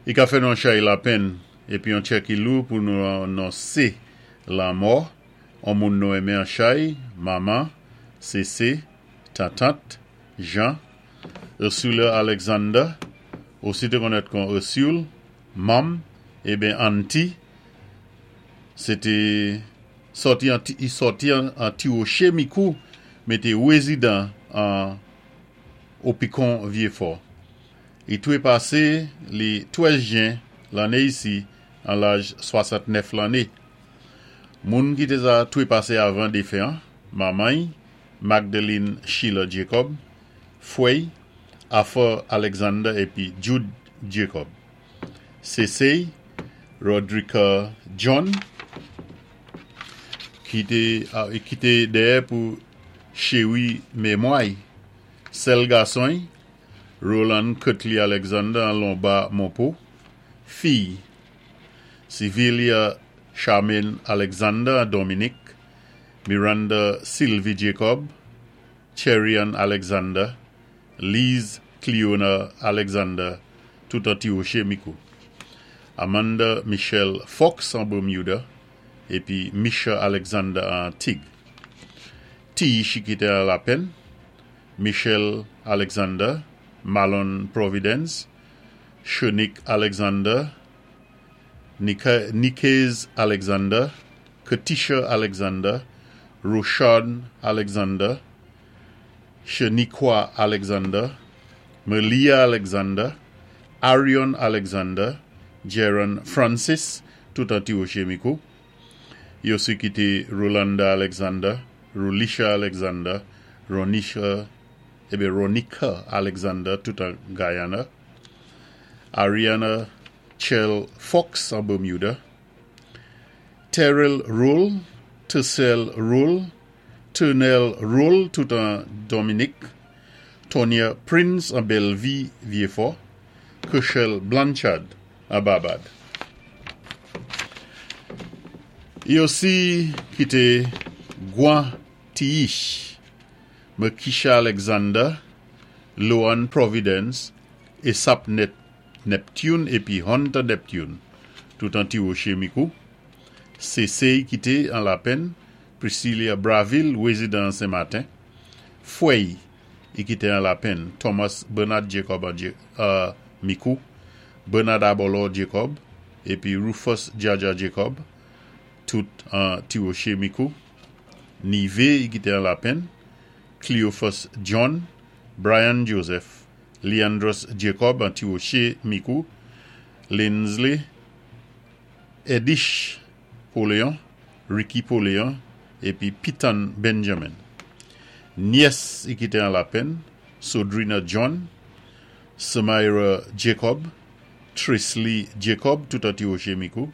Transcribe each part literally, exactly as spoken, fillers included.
I ka fè nou an chay lapenn épi an tchè ki lou pou nou anonsé lanmò an moun nou enmen an chay, manman, Sésé, tantant, Jean, Ursula Alexander, osi té konnèt kon Ursule, Mom, ébyen Auntie, sé té sòti an, i sòti an, an Ti Woché Mikou, mé té wézidan an Opikon Vyéfò. I twépasé li twèz jen lanné isi an laj swasant-nèf lanné. Moun ki té sa twépasé avan défen, manman Magdalene Sheila Jacob, fwè Arthur Alexander épi Jude Jacob. Sésé Rodrika John ki té ki té dèyè pou chéwi mémwa. Sèl gason Roland Cutley Alexander an Lomba Monpo, fi Civilia Charmaine Alexander an Dominique, Miranda Sylvie Jacob, Cherian Alexander, Lise Cleona Alexander, tout an Ti Woché Mikou. Amanda Michelle Fox an Bermuda, épi Misha Alexander an Antig. Ti ki té an lapenn, Michelle Alexander, Malon Providence, Shanique Alexander, Nika, Nikez Alexander, Katisha Alexander, Roshan Alexander, Shaniqua Alexander, Malia Alexander, Arion Alexander, Jaron Francis, tout an Ti Woché Mikou. Yo osi kité Rolanda Alexander, Rolisha Alexander, Ronisha, ébyen Ronika Alexander, tout an Guyana, Ariana Chell Fox an Bermuda, Terrell Roll, Tercel Roll, Turnell Roll, tout an Dominique, Tonya Prince an Bellevue, Vieux-Fort, Kershel Blanchard an Barbad. I osi kité Gwan Tiish, Merkisha Alexander, Loan Providence, Esap Neptune épi Hunter Neptune, tout an Ti Woché Mikou. Sésé kité an lapenn, Priscilla Braville, wézidan Saint-Martin. Fwè i kité an lapenn, Thomas Bernard Jacob an uh, Mikou, Bernard Abolo Jacob, épi Rufus Jaja Jacob, tout an Ti Woché Mikou. Nivé i kité an lapenn, Cleophas John, Brian Joseph, Leandros Jacob an Ti Woché Mikou, Lindsley Edish Poléon, Ricky Poléon, épi Pitan Benjamin. Nyès i kité an lapenn, Sodrina John, Samira Jacob, Trisley Jacob, tout an Ti Woché Mikou,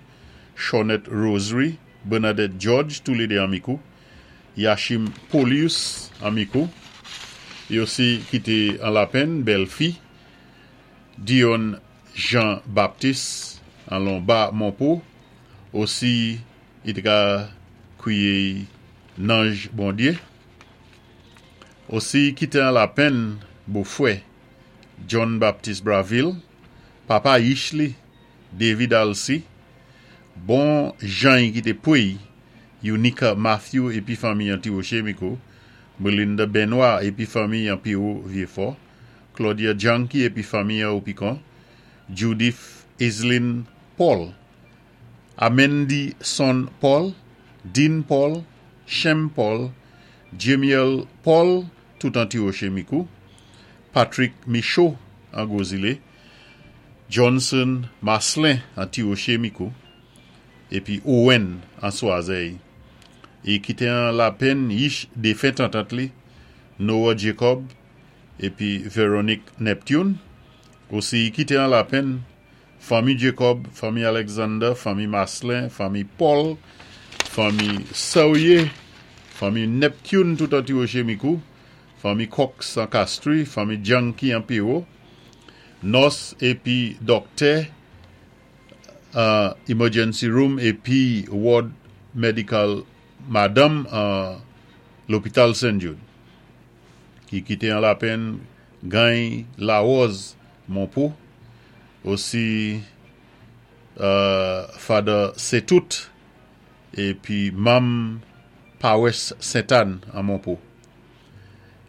Shawnette Rosary, Bernadette George, tou lédé an Mikou, Yashim Polius an Mikou, i osi kité an lapenn, bèlfi, Dion Jean Baptiste an Lomba Monpo, osi i té ka kwiyé Nanj Bondyé. Osi kité an lapenn bofwè John Baptiste Braville, papa Yishli, David Alcy, bon Jean ki té pwéy, Unica Matthew épi fanmi an Ti Woché Mikou, Melinda Benoit épi fanmi an Piro Vieux-Fort, Claudia Janky épi fanmi an Opikon, Judith Islin Paul, Amendi Son Paul, Dean Paul, Shem Paul, Jemiel Paul, tout an Ti Woché Mikou, Patrick Michaud an Gozile, Johnson Maslin an Ti Woché Mikou, épi Owen an Swazey. I kité an lapenn yich défen tantant li, Noah Jacob, épi Véronique Neptune. Osi kité an lapenn fanmi Jacob, fanmi Alexander, fanmi Maslin, fanmi Paul, fanmi Saouye, fanmi Neptune tout an Ti Woché Mikou, fanmi Cox an Castries, fanmi Janky an Piro, nòs épi doktè uh, emergency room épi ward medical madame uh, lopital Saint Jude ki kité an lapenn Gany Larose Monpo osi euh, Father Setout, épi manm Pawès Sent-Ann an Monpo.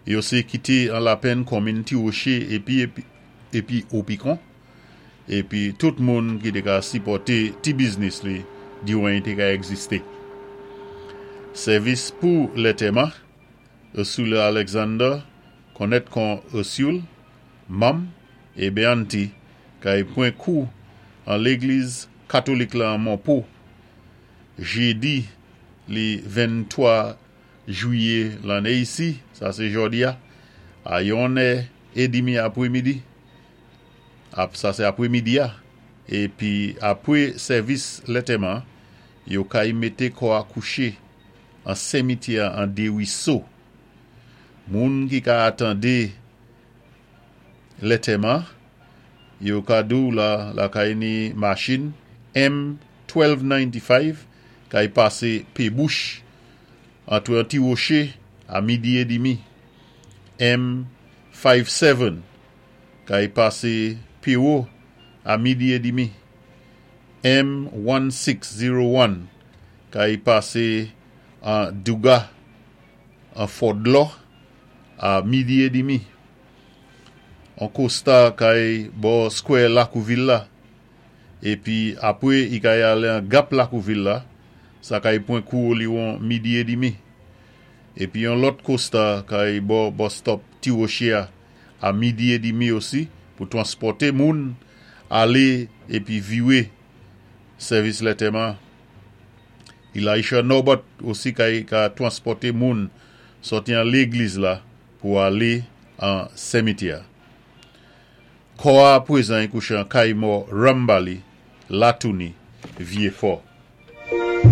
Yo sé kité an lapenn konminn Ti Woché épi épi, épi Opikon. Épi tout moun ki té ka sipòté ti biznis li diwan té ka egzisté. Sèvis pou lantèman, Ursula Alexander, konnèt kon Ursule, manm é Beanti, kay pwan kou an légliz katolik la an Monpo, jédi li venntwa jwiyé lanné isi, sa sé jòdi-a, a yon è édmi apwémidi, ap, sa sé apwémidi-a, épi apwé sèvis lantèman, yo kay mété kò a kouché an simityè an Desruisseaux. Moun ki ka atandé lantèman, yo ka di-w la, la kay ni machin M twèlv nannti-fayv kay pasé Pébouch antwé Ti Woché a midi édmi. M fennti-sèt kay pasé Péwo a midi édmi. M sèzon zen kay pasé an Douga an Fort-Dlo a midi édmi. An Costa kay bò Square Lakouvil la. Épi apwé i kay alé an Gap Lakouvil la, sa kay pwan kou liwon midi édmi. Épi yon lòt Costa kay bò bus stop Ti Woché a, a midi édmi osi pou twanspòté moun alé épi viwé sèvis lantèman. Elisha Norbert osi kay ka twanspòté moun sòti an légliz la pou alé an simityè. Kò a pwézan kouché an kay mò Rambali, Latouni, Vyé Fò.